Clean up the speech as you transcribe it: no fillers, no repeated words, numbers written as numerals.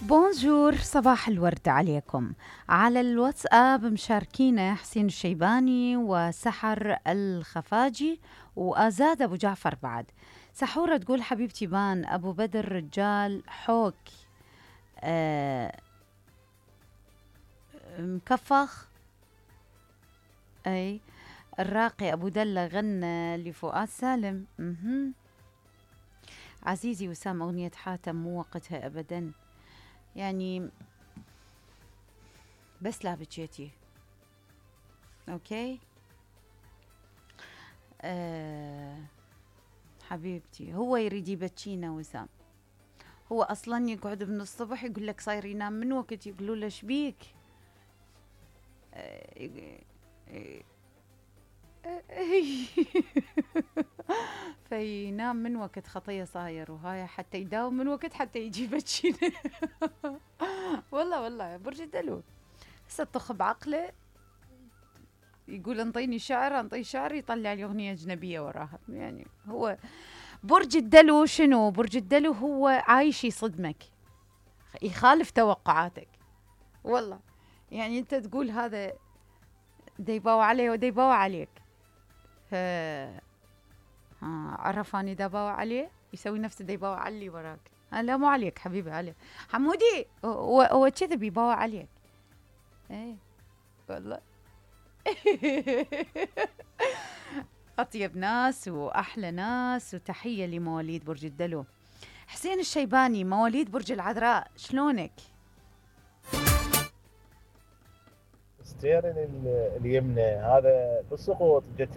بونجور، صباح الورد عليكم. على الواتساب مشاركينا حسين الشيباني وسحر الخفاجي وآزاد أبو جعفر. بعد سحورة تقول حبيبتي بان أبو بدر رجال حوك مكفخ. أي الراقي أبو دلة غنى لفؤاد سالم. عزيزي وسام، أغنية حاتم مو وقتها أبدا، يعني بس لا بكيتي. اوكي حبيبتي، هو يريد يبكينا وسام. هو اصلا يقعد من الصبح يقول لك صاير ينام من وقت، يقولوا له شبيك؟ فينام من وقت خطيه صاير، وهاي حتى يداوم من وقت حتى يجي يبكينا. والله برج الدلو هسه طخ بعقله، يقول انطيني شعر، انطي شعر، يطلع لي اغنيه اجنبيه وراها. يعني هو برج الدلو شنو؟ برج الدلو هو عايش يصدمك، يخالف توقعاتك. والله يعني انت تقول هذا ديباو عليه وديباو عليك، عرف اني ديباو عليه، يسوي نفسه ديباو علي وراك. لا مو عليك حبيبي، علي حمودي، هو كذا بيباوع عليك. ايه والله. أطيب ناس وأحلى ناس، وتحية لمواليد برج الدلو. حسين الشيباني مواليد برج العذراء، شلونك؟ ستيرن اليمنى هذا بالسقوط جت